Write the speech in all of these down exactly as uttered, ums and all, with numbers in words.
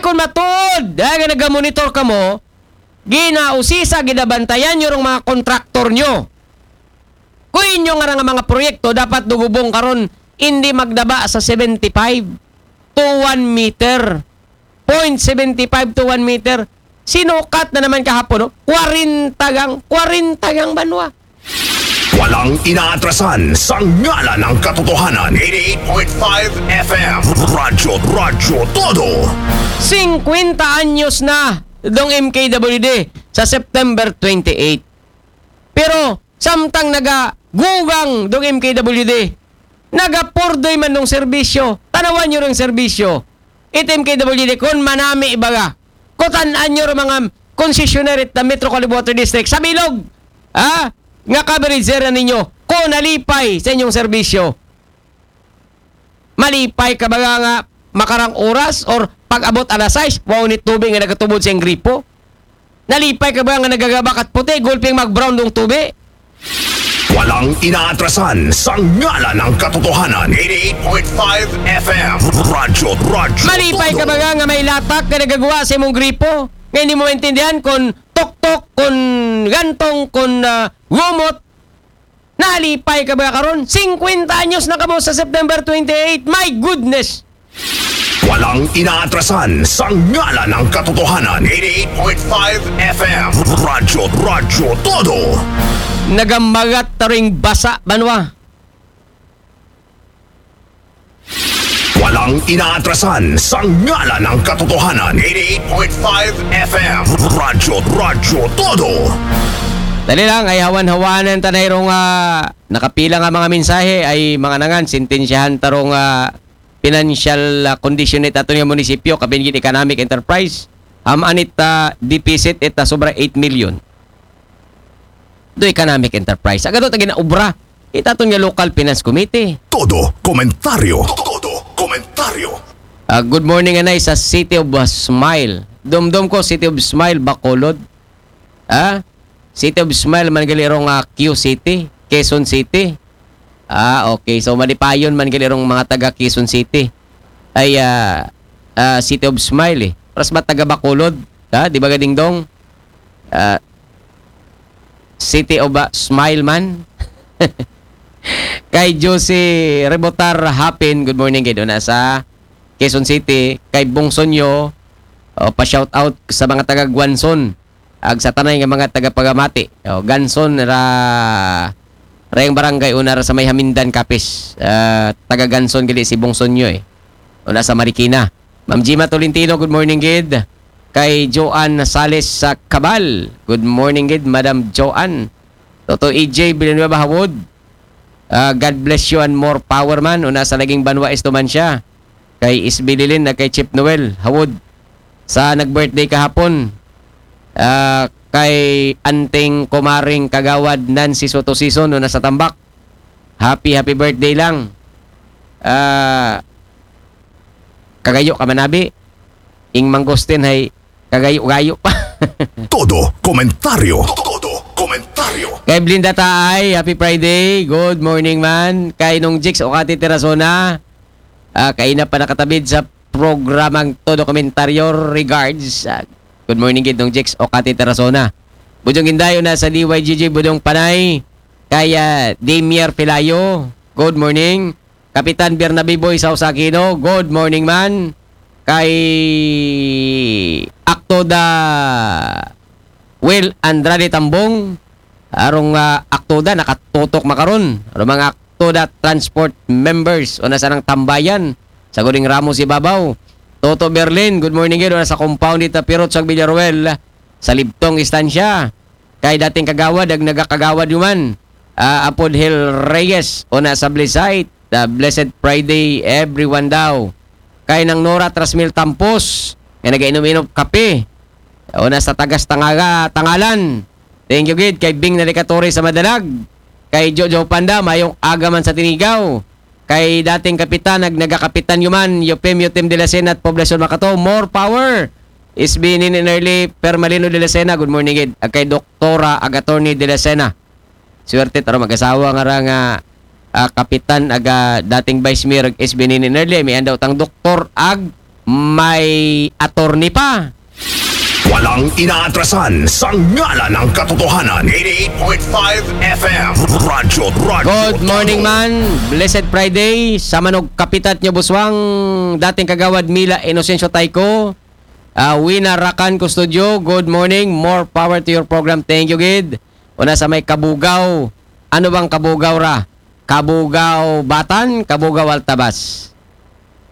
Kung matuod, dahil nga nagamonitor kamo, ginausisa, ginabantayan nyo rong mga kontraktor nyo. Kung inyo nga nga mga proyekto, dapat dugubong karon, hindi magdaba sa seventy-five to one meter. Point seventy-five to one meter. Sinukat na naman kahapon, no? Kwarenta gang, kwarenta gang banwa. Walang inaatrasan sa ngalan ng katotohanan. eighty-eight point five F M. Radyo, Radyo Todo. Singkwenta anyos na dong M K W D sa September twenty-eight. Pero samtang nagagugang dong M K W D, nagapurdoy man dong serbisyo, tanawan nyo rong serbisyo. It M K W D, kung manami baga, kutan-an nyo rong mga concessionaire ta Metro Caloocan Water District sa bilog, ha? Nga coverage area ninyo, kung nalipay sa inyong serbisyo. Malipay ka baga nga makarang oras or pag-abot alas sais, wow ni tubig nga nagatubod sa iyang gripo? Nalipay ka baga nga nagagabakat puti, gulping mag-brown dong tubig? Walang inaatrasan sa ngalan ng katotohanan. eighty-eight point five F M. Radyo, Radyo Malipay ka Todo. Baga nga may latak nga nagagawa sa imong gripo? Nga hindi mo maintindihan kung tuktok, kung gantong, kung ah, gumot? Nalipay ka baga karon? Singkwenta anyos na kamo sa September twenty-eight. My goodness! Walang inaatrasan sa ngalan ng katotohanan. eighty-eight point five F M. Radyo, Radyo Todo. Nagamagat ta ring basa, banwa. Walang inaatrasan sa ngalan ng katotohanan. eighty-eight point five F M. Radyo, Radyo Todo. Dali lang, ay hawan-hawanan ta na irong ah, nakapila nga mga mensahe ay mga nangan, sentensyahan ta rong ah, financial ah, condition ni aton nga munisipyo, kapin gid economic enterprise. Hamaan it ah, deficit it ah, sobra eight million. Do economic enterprise. Agad ta ginaobra. It aton nga local finance committee. Todo komentaryo. Todo komentaryo. Ah, good morning, anay, sa City of ah, Smile. Dumdum ko, City of Smile, Bacolod. Ah? City of Smile man gali rong ah, Q City, Quezon City. Ah, okay. So malipayon man gali rong mga taga Quezon City. Ay ah, ah, City of Smile eh. Paras ba taga Bacolod? Ha? Di ba, Gadingdong? Ah, City of ah, Smile man. Kay Josie Rebotar Hapin, good morning gid, una sa Quezon City. Kay Bong Sonyo, oh, pa-shout out sa mga taga Guanzon, ag sa tanay nga mga taga Pagamati. Oh, Ganson ra, rayang barangay, una ra sa may Hamindan, Capiz. Ah, taga Ganson gali si Bong Sonyo eh. Una sa Marikina. Ma'am Gima Tolentino, good morning gid. Kay Joanne Sales sa Cabal, good morning gid, Madam Joanne. Toto E J Villanueva Hawod, ah, God bless you and more power man. Una sa laging banwa esto man siya. Kay Isbililin na kay Chip Noel Hawod. Sa nag-birthday kahapon, ah, kay anting kumaring kagawad Nancy Soto Sison, una sa Tambak. Happy, happy birthday lang. Ah, kagayo ka manabi. Ing mangustin hay kagayo-gayo pa. Todo komentaryo. Todo komentaryo. Kay Blinda Taay, happy Friday. Good morning man. Kay Nong Jix Okati Terasona, ah, kay na pa nakatabid sa programang Todo Komentaryo. Regards. Ah, good morning gid, Nong Jix Okati Terasona. Bujong Indayo na sa D Y G G Budong Panay. Kay ah, Damier Pelayo, good morning. Kapitan Bernabe Boy Sausa Aquino, good morning man. Kay Aktoda Will Andrade Tambong, arong ah, Aktoda nakatutok makaron. Arong mga Aktoda Transport members, una sa nang tambayan sa Goding Ramos Ibabaw. Toto Berlin, good morning gid, una sa compound dita Pirot sa Villaruel, sa Libtong Estancia. Kay dating kagawad, ag nagakagawad yuman. Ah, Apod Hill Reyes, una sa Blessite. The Blessed Friday, everyone daw. Kay Nang Nora Trasmil Tampos, nga nagainom-inom kape. Una sa Tagas Tangaga, Tangalan. Thank you gid kay Bing Nalikatore sa Madalag. Kay Jojo Panda, mayong aga man sa Tinigaw. Kay dating kapitan, ag nagakapitan yuman, Yupim Yutim de la Sena at Poblacion Makato, more power. S B Nini Nerly Permalino de la Sena, good morning gid. Ag kay Doktora ag Attorney de la Sena. Swerte taro mag-asawa nga ra nga ah, kapitan aga dating Vice Mayor ag S B Nini Nerly, may andaw tang doktor ag may attorney pa. Walang inaatrasan sa ngalan ng katotohanan. eighty-eight point five F M. Radyo, Radyo. Good morning, man. Blessed Friday. Sa manog kapitat nyo, buswang, dating kagawad Mila Inocencio Tayco. Uh, Wina Rakan Custodio, good morning. More power to your program. Thank you, gid. Una sa may Kabugaw. Ano bang Kabugaw ra? Kabugaw Batan, Kabugaw Altabas.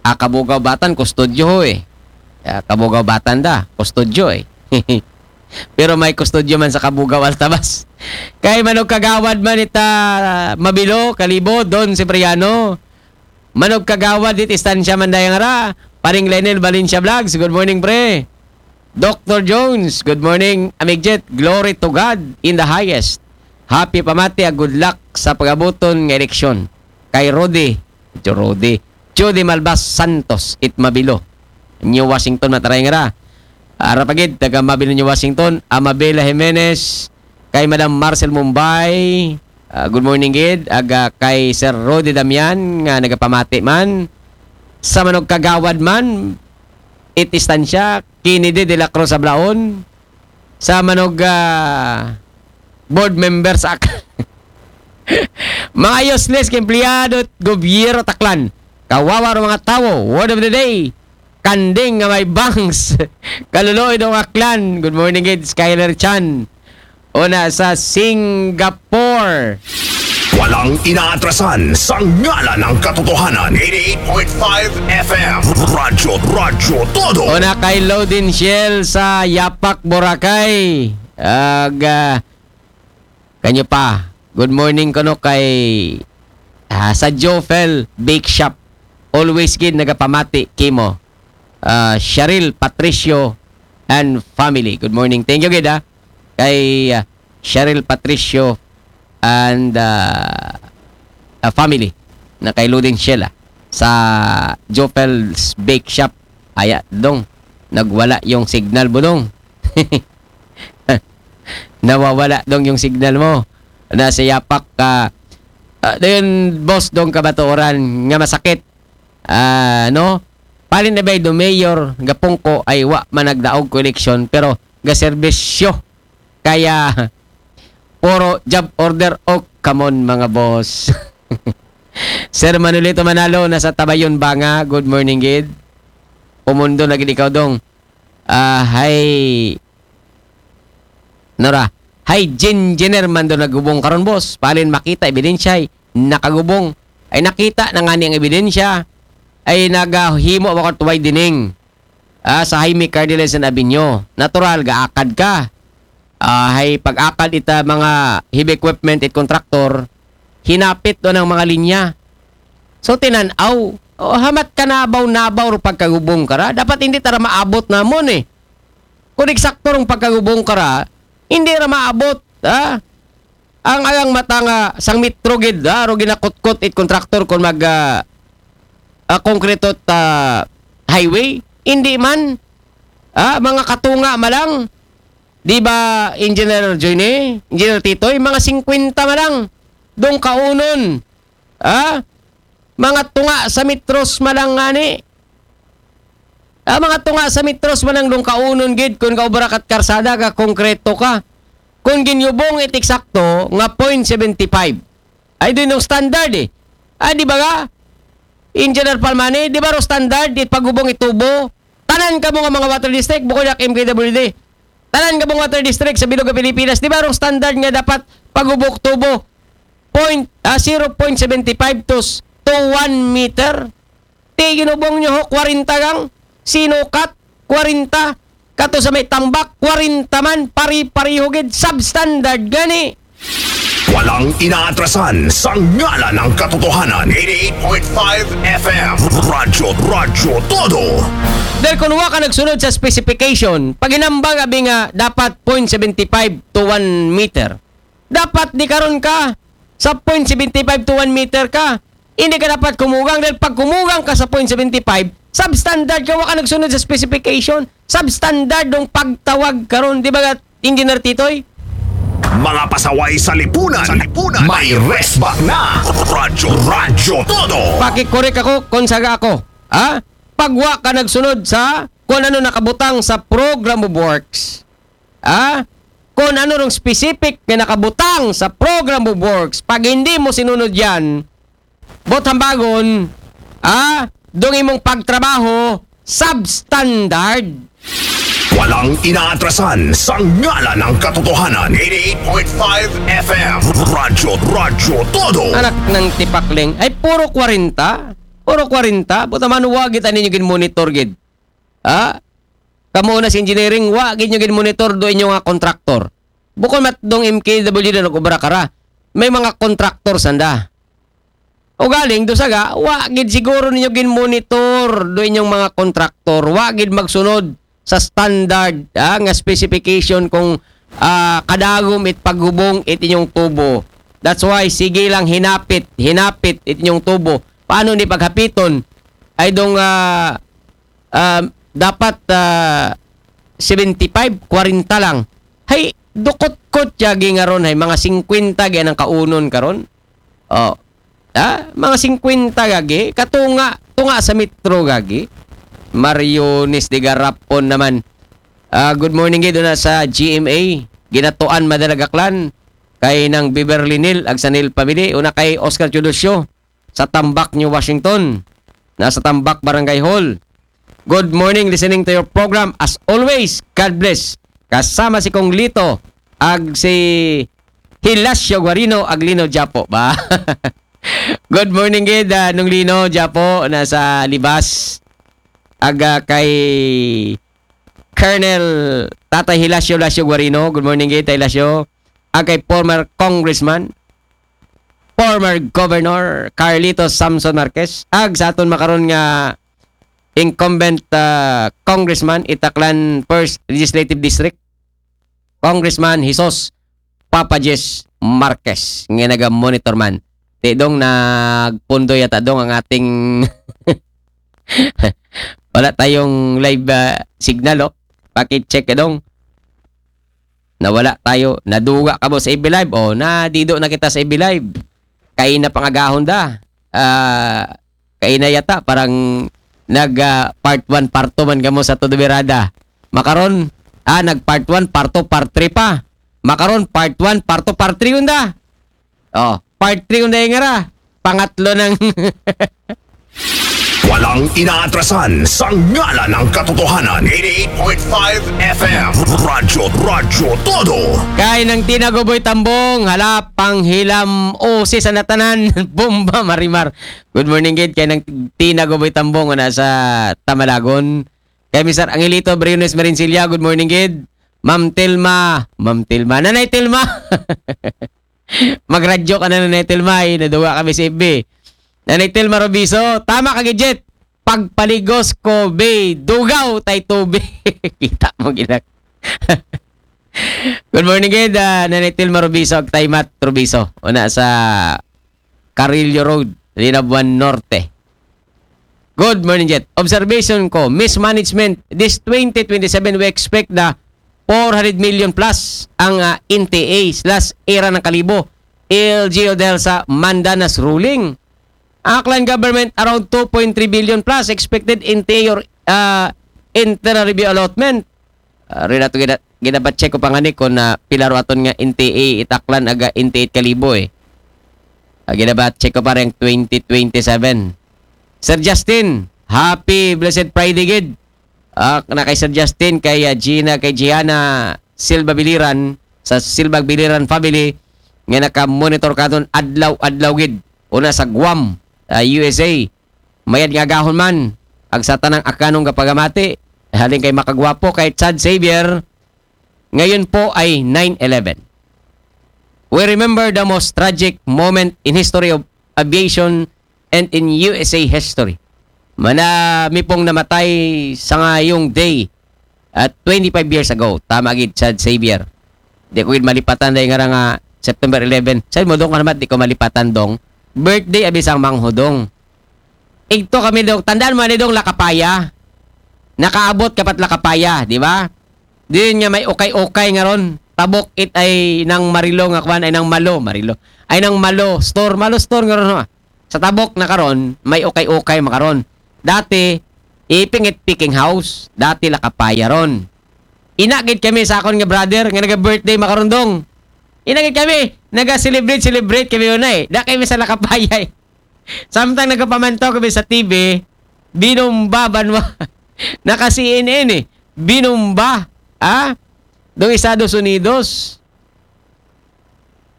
Ah, Kabugaw Batan, Custodio ho eh. Ah, Kabugaw Batan da, Custodio eh. Pero may Custodio man sa Kabugaw Altabas. Kay manog kagawad man ita Mabilo, Kalibo, Don Cipriano. Manog kagawad dit istansya man dayang ra. Paring Lenel Valencia Vlogs, good morning, pre. Doctor Jones, good morning. Amigjet, glory to God in the highest. Happy pamati, a good luck sa pagabuton nga eleksyon. Kay Rudy, Joe Rudy, Judy Malbas Santos, it Mabilo, New Washington, mataray nga ra. Ara pagid, taga Mabilo, New Washington, Amabela Jimenez, kay Madam Marcel Mumbai, ah, good morning gid, aga kay Sir Rudy Damian, nga nagapamati man, sa manog kagawad man, it istansya, Kennedy de la Cruz Ablaon, sa manog ah, board member sa ak- mga useless ka empleyado at gobyerno Taklan. Kawawa ro mga tawo. Word of the day. Kanding nga may bangs. Kaluluoy dong Aklan. Good morning, gid. Skyler Chan. Una sa Singapore. Walang inaatrasan sa ngalan ng katotohanan. eighty-eight point five F M. Radyo, Radyo Todo. Una kay Loading Shell sa Yapak, Boracay. Aga, kanyo pa. Good morning kuno kay ah, sa Jofel Bake Shop. Always gid nagapamati kimo. Ah, Cheryl Patricio and family. Good morning. Thank you gid ha. Kay ah, Cheryl Patricio and ah, ah, family na kay Loading Shell ah, sa Jofel's Bake Shop. Aya, dong. Nagwala yung signal mo, dong. Nawawala dong yung signal mo. Nasa Yapak ka. Ah, dayon, boss, dong kabatuoran nga masakit. Ah, no? Palin na ba do mayor, gapungko ay wa man nagdaog ko eleksyon, pero gaserbisyo. Kaya, puro job order o come on, mga boss. Sir Manolito Manalo, nasa Tabayon, Banga. Good morning, gid. Pumundo na gid ikaw, dong. Ah, hi. Nora, hi, Jin Jenner man do nagubong karon, boss. Palin makita ebidensya ay nakagubong. Ay nakita na nga niyang ebidensya ay nagahimo ako tuway dining. Ah, sa Jaime Cardenas and Avenue. Natural, gaakad ka. Ah, hay pag-akad ita mga heavy equipment it contractor, hinapit do ng mga linya. So, tinan-aw, oh, hamat ka nabaw-nabaw ro pagkagubong kara. Dapat hindi tara maabot namon eh. Kung eksakto rong pagkagubong kara, hindi ra maabot, ha? Ang ayang mata nga sang metro gid, ha? Ro ginakutkot it contractor kung mag ah, ah, konkreto ta highway, hindi man, ha? Mga katunga malang, di ba, Engineer Joyne, Engineer Titoy, mga singkwenta malang, dong kaunon, ha? Mga tunga sa metros malang ngani. Ah, mga tunga sa metros man ang lungkaunon gid kung gaubra kat karsada ka konkreto ka. Kung ginyubong it eksakto nga point seventy five. Ay din yung standard eh. Ah, di ba ga? Engineer Palmani, di ba ro standard it pagubong itubo? Tanan ka mo nga mga water district, bukod na M K W D. Tanan ka mo nga water district sa bilog nga Pilipinas, di ba ro standard nga dapat pagubok tubo? Point, ah, zero point seven five to, s- to one meter. Ti ginubong nyo ho, kwarenta gang sinukat, kwarenta. Kato sa may tambak, kwarenta man, pari-pariho gid, substandard gani. Walang inaatrasan sa ngalan ng katotohanan. eighty-eight point five F M. Radyo, Radyo Todo. Dahil kung wa ka nagsunod sa specification, pag hinambang abi nga dapat point seven five to one meter, dapat di karon ka sa point seven five to one meter ka. Hindi ka dapat kumugang dahil pag kumugang ka sa point seven five, substandard ka, wa ka nagsunod sa specification. Substandard dong pagtawag karon, di ba, Engineer Titoy? Mga pasaway sa lipunan. Sa lipunan. May resback na. Radyo, Radyo Todo. Pakikorek ako, konsaga ako. Ha? pag wa ka nagsunod sa kung ano nakabutang sa program of works, ah, kung ano rong specific nga nakabutang sa program of works, pag hindi mo sinunod yan, bot hambagon, ah, dong imong pagtrabaho, substandard. Walang inaatrasan sa ngalan ng katotohanan. Eighty-eight point five F M. Radyo, Radyo Todo. Anak ng tipakling. Ay, puro kwarenta. Puro kwarenta. Buta man, wag kita ninyo gin-monitor gid. Ha? Kamo na sa engineering, wa gid nyo gin-monitor do inyo nga contractor. Bukon mat dong M K W na nag-obra kara. May mga contractor sanda. O galing, do saga, wa gid siguro ninyo gin-monitor do inyong mga contractor. Wa gid magsunod sa standard, ah, nga specification kung, ah, kadagom it paghubong it inyong tubo. That's why, sige lang hinapit, hinapit it inyong tubo. Paano ni paghapiton? Ay dong, ah, ah, dapat, ah, seventy-five, kwarenta lang. Hay, dukot-kot yagi nga ron, hay, mga singkwenta gyan ang kaunon karon. Oh. Ha? Mga singkwenta gagi. Katunga, tunga sa metro gagi. Mariones de Garapon naman. Ah, good morning gid na sa G M A. Ginatuan Madalagaklan. Kay nang Beverly Neil, ag sa Neil family. Una kay Oscar Teodosio sa Tambak, New Washington. Nasa Tambak Barangay Hall. Good morning, listening to your program. As always, God bless. Kasama si Kong Lito, ag si Hilasio Guarino, ag Lino Japo ba? Good morning gid, ah, Nung Lino Japo, nasa Libas. Aga kay Colonel Tatay Hilasio, Hilasio Guarino. Good morning gid, Tay Hilasio. Ag kay former congressman, former governor Carlito Samson Marquez. Ag sa aton makaron nga incumbent, ah, congressman, Itaklan First Legislative District, Congressman Jesus Papa Jess Marquez, nga naga-monitor man. Ti dong, nagpundo yata dong ang ating wala tayong live, ah, signal, oh. Paki-check ka dong. Nawala tayo. Naduga ka mo sa F B Live. Oh, nadido na kita sa F B Live. Kay na pangagahon da. Ah, kay na yata parang nag, ah, part one, part two man kamo sa Todo Birada. Makaron, ah, nag part one, part two, part three pa. Makaron, part one, part two, part three unda. Oh, part three unda yung nga ra. Pangatlo ng Walang inaatrasan sa ngalan ng katotohanan. Eighty-eight point five F M. Radyo, Radyo Todo. Kay nang Tina Goboy Tambong, hala, panghilam, o si sanatanan, bomba, marimar. Good morning, gid, kay nang Tina Goboy Tambong, na sa Tamalagon. Kay Mister Angelito Briones Marincilla, good morning, gid. Ma'am Telma, Ma'am Telma, Nanay Telma. Magradyo ka na, Nanay Telma, eh, naduwa kami sa F B. Nanay Telma Robiso, tama ka, gid, Jet. Pagpaligos ko, be, dugaw tay tubig. Kita mo, ginak. Good morning, gid, ah, Nanay Telma Robiso, ag Taymat Robiso. Una sa Carrillo Road, Linabuan Norte. Good morning, Jet. Observation ko, mismanagement. This twenty twenty-seven, we expect the four hundred million plus ang, ah, N T A slash Era ng Kalibo, L G U, dahil sa Mandanas ruling. Aklan government, around two point three billion plus expected N T A or, ah, internal revenue allotment. Ah, rin ato gina-, ginabat-check ko pa nga ni kung, ah, pila ro aton nga N T A it Aklan aga N T A it Kalibo, eh. Ah, ginabat-check ko pa rin twenty twenty-seven. Sir Justin, happy blessed Friday, gid. Ah, na kay Sir Justin, kay, ah, Gina, kay Gianna Silva Biliran, sa Silva Biliran family, nga naka-monitor katon adlaw-adlaw, gid. Una sa Guam, ah, U S A. Mayad nga agahon man, ag sa tanang Akanong kapagamati, halin kay Makagwapo, kay Chad Xavier, ngayon po ay nine eleven. We remember the most tragic moment in history of aviation and in U S A history. Mana mi pong namatay sa ngayong day at twenty-five years ago. Tama gid, Chad Xavier. Di ko gid malipatan dahil nga nga September eleven. Sa mo dong, ano, di ko malipatan dong. Birthday abi sang Manghudong. Igto kami dong, tandaan mo ani dong, Lakapaya. Nakaabot ka pat Lakapaya, di ba? Diyon nga may ukay-ukay nga ron. Tabok it ay nang Marilo nga kwan, ay nang Malo, Marilo. Ay nang Malo Store, Malo Store nga ron, ha? Sa tabok na karon, may ukay-ukay makaron. Dati, Iping it picking house, dati Lakapaya ron. Ina gid kami sa akon nga brother nga naga-birthday makarundong. Ina gid kami, naga-celebrate, celebrate kami una eh. Da kami sa Lakapaya eh. Samtang nagapamantaw kami sa T V, binomba banwa. Naka-C N N eh. Binomba, ha? Dong Estados Unidos.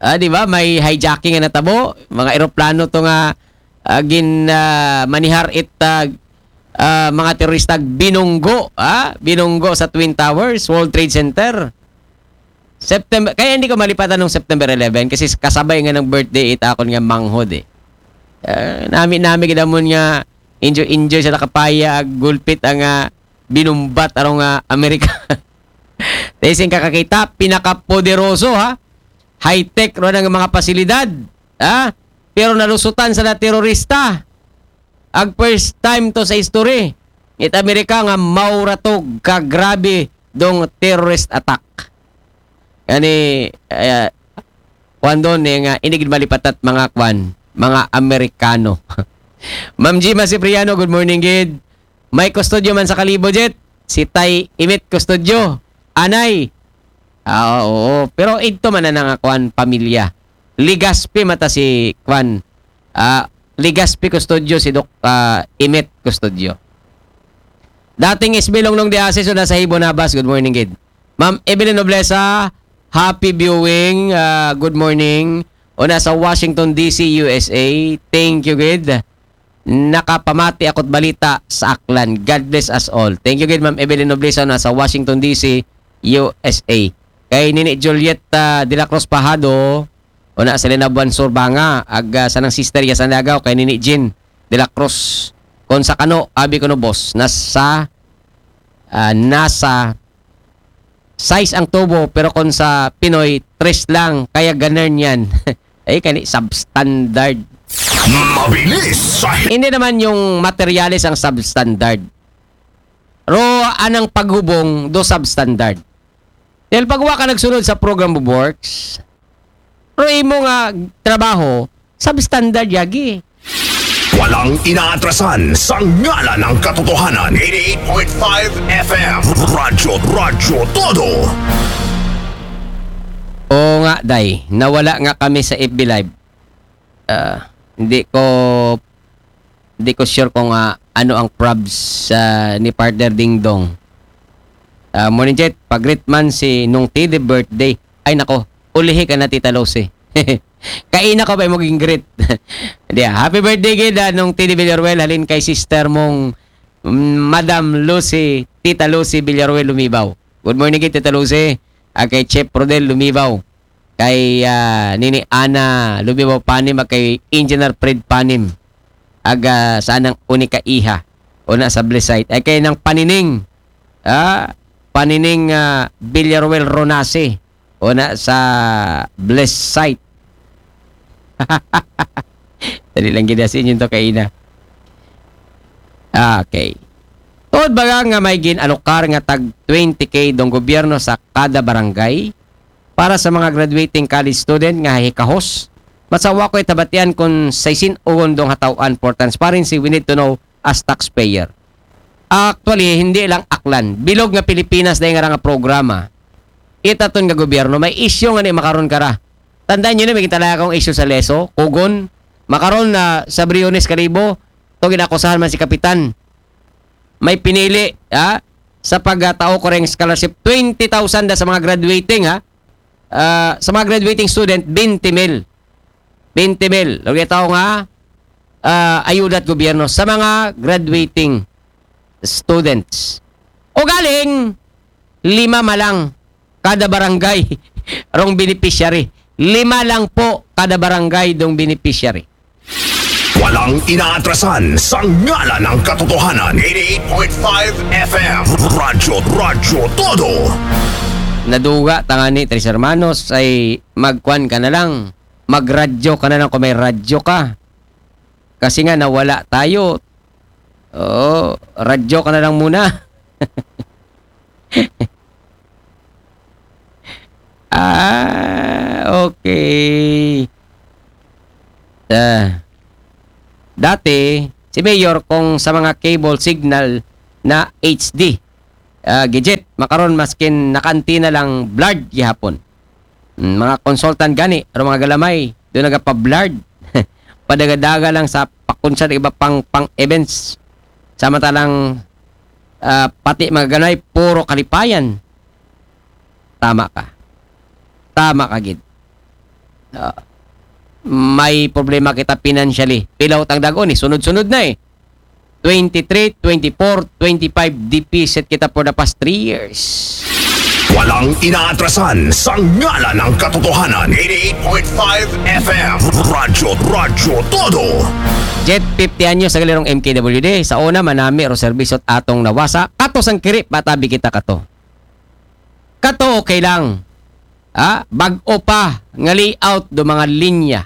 Ah, di ba? May hijacking nga natabo. Mga eroplano to nga ah, gin ah, manihar it ah, ah, mga terorista binunggo, ah, binunggo sa Twin Towers, World Trade Center. September, kaya hindi ko malipatan nung September eleven kasi kasabay nga ng birthday it akon nga manghod eh. Ah, nami-nami gid amon nga enjoy-enjoy sa Lakapaya ag gulpit ang ah, binumbat arong ah, Amerika. Dahil sing kakakita, pinakapoderoso ha, high-tech ron ang mga pasilidad ha, pero nalusutan sa na terorista. Ag first time to sa history it Amerika nga mauratog ka grabe dong terrorist attack. Ani, eh, kuwan doon eh, nga inigid malipatat mga kwan, mga Amerikano. Ma'am Gima Cipriano, good morning gid. May kustodyo man sa Kalibo, Jet. Si Tay Imit Kustodyo. Anay. Ah, oo. Pero ito man na nga kwan, pamilya. Ligaspi mata si kwan. Ah, Ligaspi Kustodyo, si Doc ah, Imit Kustodyo. Dating S B Longlong de Asis, una sa Hibo Nabas. Good morning, gid. Ma'am Evelyn Noblesa, happy viewing. Ah, good morning. Una sa Washington D C, U S A. Thank you, gid. Nakapamati ako't balita sa Aklan. God bless us all. Thank you, gid, Ma'am Evelyn Noblesa, una sa Washington D C, U S A. Kay Nini Juliet ah, de la Cruz Pajado, una sa Linabuan Sur, Banga, ag ah, sa nang sister ya sa Nagaw, kay Nini Jean de la Cruz. Kon sa kano, abi ko no, boss, nasa, ah, nasa size ang tubo, pero kon sa Pinoy, tres lang, kaya ganern yan. Ay, kani, substandard. Mabilis sa Hindi naman yung materyales ang substandard. Ro, anang paghubong do substandard. Dahil pag wa ka nagsunod sa program of works, ro imo nga trabaho, substandard yagi. Walang inaatrasan sa ngalan ng katotohanan. Eighty-eight point five F M. Radyo, Radyo Todo. Oo nga, Day. Nawala nga kami sa F B Live. Ah, hindi ko hindi ko sure kung ah, ano ang probs ah, ni Partner Dingdong. Ah, morning, Jet. Pag-greet man si Nung T D birthday. Ay, nako. Ulihi ka na, Tita Lucy. Kaina ko pa yung maging greet. Di, ah, happy birthday, gid, ah, Nung T D Villaruel. Halin kay sister mong mm, Madam Lucy, Tita Lucy Villaruel Lumibaw. Good morning, gid, Tita Lucy. Ah, kay Chef Rodel Lumibaw. Kay ah, Nini Ana Lumibaw Panim, ah, kay Engineer Fred Panim. Aga sa nang unika iha. Una sa Blessite. Ay kay nang Panining. Ah, Panining ah, Villaruel Ronase. Una sa Blessite. Dali lang gid sa inyo to kaina. Okay. Tuod ba nga may gin-alokar nga tag twenty K dong gobyerno sa kada barangay para sa mga graduating college student nga hikahos? Masawa ko itabatian kung sa isin ugon dong hataw-an for transparency, we need to know as taxpayer. Actually, hindi lang Aklan. Bilog nga Pilipinas na nga nga programa. Itaton nga gobyerno, may isyu nga ni makaron kara. Tandaan nyo na, may gintala akong isyu sa Leso, Kugon. Makaron na sa Briones Kalibo, to ginakusahan man si Kapitan. May pinili, ha? Sa pagtao ko ring scholarship, twenty thousand da sa mga graduating, ha? Ah, sa mga graduating student, twenty mil. Twenty mil. Lagi tao nga, ah, ayuda at gobyerno sa mga graduating students. O galing, lima malang kada barangay rong beneficiary. Lima lang po kada barangay dong beneficiary. Walang inaatrasan sa ngalan ng katotohanan. Eighty-eight point five F M. Radyo, Radyo Todo. Naduga tangani, Tres Hermanos, ay magkwan ka na lang. Magradyo ka na lang kung may radyo ka. Kasi nga, nawala tayo. Oo, radyo ka na lang muna. Ah, okay. Ah, dati, si Mayor, kung sa mga cable signal, na H D. Ah, gadget, makaron maskin naka-antenna lang, blurred gihapon. Mm, mga consultant gani, aron mga galamay, do nagapa-blurred. Padagadaga lang sa pakunsa iba pang, pang events. Samantalang, ah, pati mga galamay, puro kalipayan. Tama ka. Tama ka gid. Ah, may problema kita financially. Pila utang dag-on eh. Sunod-sunod na eh. Twenty-three, twenty-four, twenty-five deficit kita for the past three years. Walang inaatrasan sa ngalan ng katotohanan. Eighty-eight point five F M. Radyo, Radyo Todo. Jet, fifty anyos sa galirong M K W D. Sa una, manami ro serbisyo at atong nawasa. Kato sang kiri, patabi kita kato. Kato okay lang. Ha? Bag-o pa nga layout do mga linya.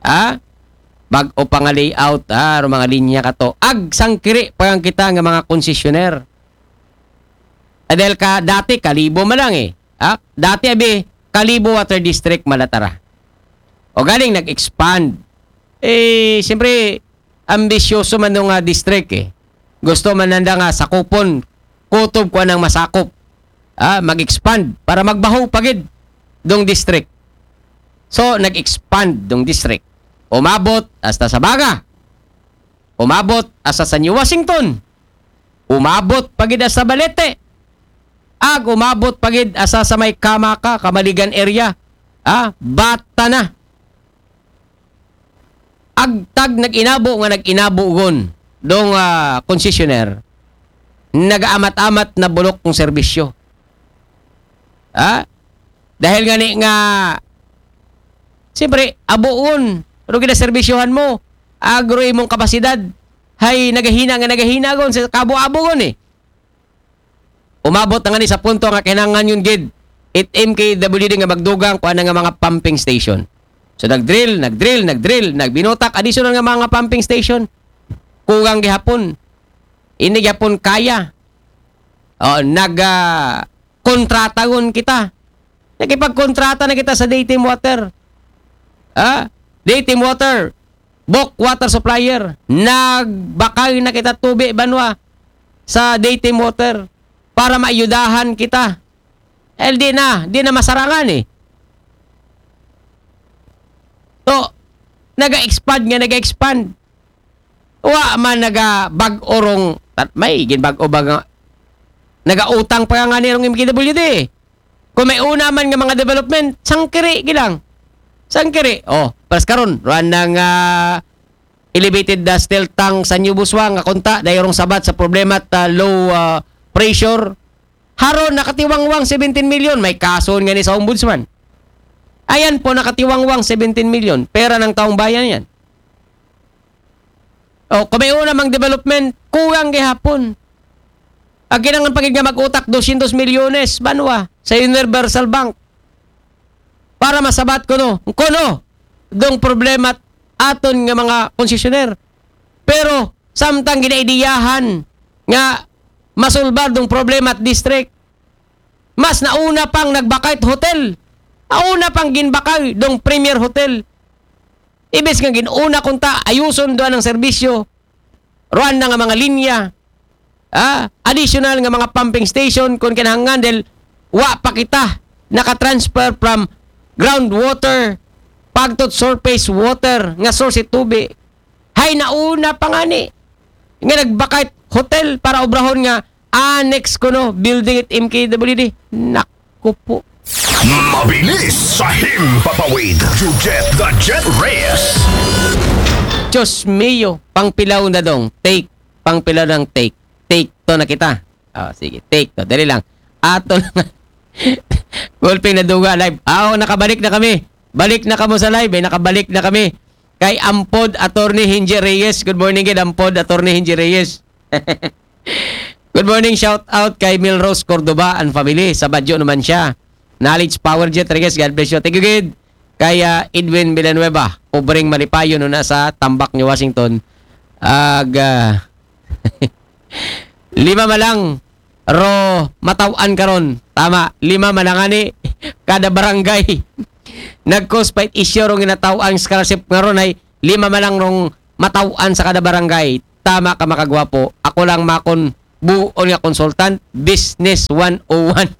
Ha? Bag-o pa nga layout, ha? Ro mga linya kato. Ag sangkiri pa lang kita nga mga konsesyoner. Ah, dahil ka, dati Kalibo man lang eh. Ha? Dati abi, Kalibo Water District malatara. O galing nag-expand. Eh, siyempre, ambisyoso man nung ah, district eh. Gusto man nanda nga sakupon, kutob ko nang masakop. Ah, mag-expand para magbaho pagid dong district. So, nag-expand dong district. Umabot hasta sa Baga. Umabot hasta sa New Washington. Umabot pagid hasta Balete. Ag umabot pagid hasta sa may Kamaka, Kamaligan area. Ah, bata na. Agtag nag-inabo nga nag-inabo gon dong ah, konsesyoner, nagaamat-amat na bulok kong serbisyo. Ha? Dahil nga ni nga, siyempre, abuon, pero ginaserbisyohan mo, agro imong kapasidad, hay nagahina nga nagahina gon sa kabo-abo gon eh. Umabot na nga ni sa punto nga kinahanglan yun gid it M K W D nga magdugang kuan nga mga pumping station. So nag-drill, nag-drill, nag-drill, nagbinutak additional nga mga pumping station. Kugang gihapon. Ini gihapon kaya. Oh, nag ah, kontrata gon kita. Nakipagkontrata na kita sa Daytime Water. Ha? Daytime Water, bulk water supplier. Nagbakay na kita tubi banwa sa Daytime Water para maayudahan kita. Eh, di na, di na masarangan eh. So, naga-expand nga, naga-expand. Wa man naga bag-o rong, tat-, may ginbag-o ba nga, naga-utang pa nga ni rong M K W D. Kung may una man nga mga development, sangkiri gilang. Sangkiri. Oh, pas karon, ruan nang ah, elevated dustil tank sa New Buswang nga kunta, dayong sabat sa problema at ah, low ah, pressure. Haron nakatiwangwang seventeen million, may kaso nga ni sa ombudsman. Ayan po, nakatiwangwang seventeen million. Pera ng taong bayan yan. O, kung may una mang development, kulang gihapon. Ang kinangan pagid nga mag-utak dosyentos milyones, banwa, sa Universal Bank. Para masabat ko no, kuno, dong problema aton nga mga konsesyoner. Pero, samtang ginaidiyahan nga masulbar dong problema at district, mas nauna pang nagbakay hotel. Nauna pang ginbakay dong Premier Hotel. Ibis nga ginuna kunta, ayuson doon ang serbisyo. Ruan na nga mga linya. Ah, additional nga mga pumping station kung kinahanglan dahil wa pa kita nakatransfer from groundwater pagtot surface water nga source tubi. Hay nauna pa nga ni nga nagbakay hotel para obrahon nga annex kuno building at M K W D. Naku po. Mabilis sa himpapawid. Jujet the Jet Reyes. Diyos mio, pangpilaw na dong. Take, pangpilaw ng take. Take to na kita. Oh, sige, take to. Dali lang. Ato lang. Gulping na duga live. Aw, nakabalik na kami. Balik na kamo sa live eh. Nakabalik na kami. Kay Ampod Attorney Hinji Reyes. Good morning, kay Ampod Attorney Hinji Reyes. Good morning, shout out kay Milrose Cordoba and family. Sa Baguio naman siya. Knowledge Power Jet Reyes, God bless you. Thank you, gid. Kay ah, Edwin Villanueva, Pobreng Malipayon, una sa Tambak, New Washington. Ag, ah, lima malang ro mataw-an karon. Tama, lima malang ani kada barangay. Nag-cause fight issue rong ginataw-an scholarship nga ron ay lima malang rong mataw-an sa kada barangay. Tama ka, makagwapo. Ako lang makon Buon nga consultant, Business one oh one.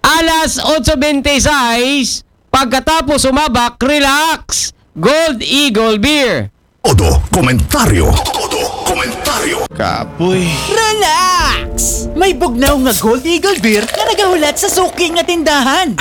Alas otso bente sais, pagkatapos sumabak, relax. Gold Eagle Beer. Todo komentaryo. Todo komentaryo. Kapoy. Relax! May bugnaw nga Gold Eagle Beer nga nagahulat sa suki nga tindahan.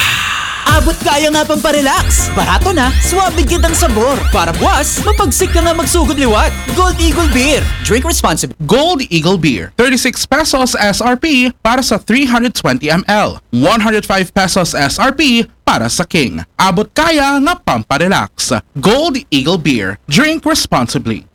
Abot kaya nga pamparelax. Barato na, suabe gyud ang sabor. Para buwas, mapagsik ka nga magsugod liwat. Gold Eagle Beer. Drink responsibly. Gold Eagle Beer, thirty-six pesos S R P para sa three hundred twenty M L, one hundred five pesos S R P para sa King. Abot kaya nga pamparelax. Gold Eagle Beer. Drink responsibly.